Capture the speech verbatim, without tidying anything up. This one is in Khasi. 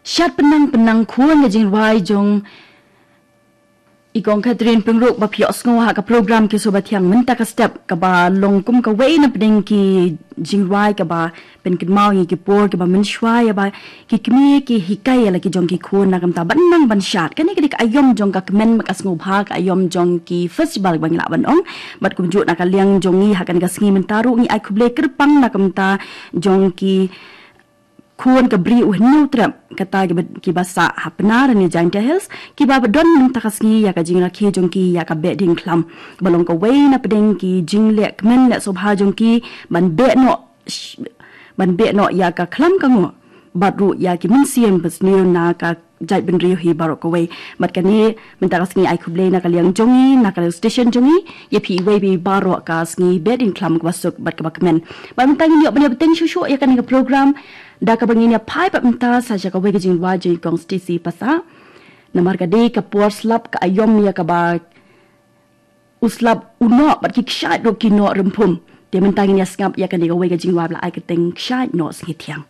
Shad pynang pynang khun ka jingrwai jong i Kong Catherine Pyngrope ba phi ïohsngew ha ka program Ki Sur Bathiang mynta ka step, kaba long kum kawei na pdeng ki jingrwai kaba pynkynmaw ïa ki por kiba mynshuwa, ïa ba ki kmie ki hikai ïa la ki jong ki khun na ka bynta ban nang ban shad. Kane ka dei ka aïom jong ka kmen, ka sngewbha, ka aïom jong ki festival ba ngi lah ban ong. Bad kumjuh na ka liang jong ngi ha kane ka sngi mynta ruh ngi ai khublei kyrpang na ka bynta jong ki khun ka Bri U Hynñiewtrep, kata kiba, kiba sah ha Pnar ne Jaintia Hills, kiba don mynta ka sngi ïa ka jingrakhe jong ki ïa ka Behdieñkhlam, ba long kawei na pdeng ki jingleh kmen leh sngewbha jong ki ban beh noh, ban beh noh ïa ka khlam ka ngoh bad ruh ïa ki mynsiem basniew na ka jaitbynriew hi baroh kawei. Bad kane mynta ka sngi ai khublei na ka liang jong ngi, na ka liang station jong ngi, ïa phi iwei pa iwei baroh ka sngi Behdieñkhlam kaba suk bad kaba kmen. Bad mynta ngin ïoh ban ïa bteng shuh shuh ïa kane ka program da kaba ngin ïa phai pat mynta sa sha kawei ka jingrwai jong i Kong Stacy Passah. Namar ka dei ka por slap ka aïom ïa kaba u slap u noh bad ki kshaid ruh ki noh rymphum. Te mynta ngin ïa sngap ïa kane kawei ka jingrwai ba la ai kyrteng Kshaid Noh Sngi Thiang.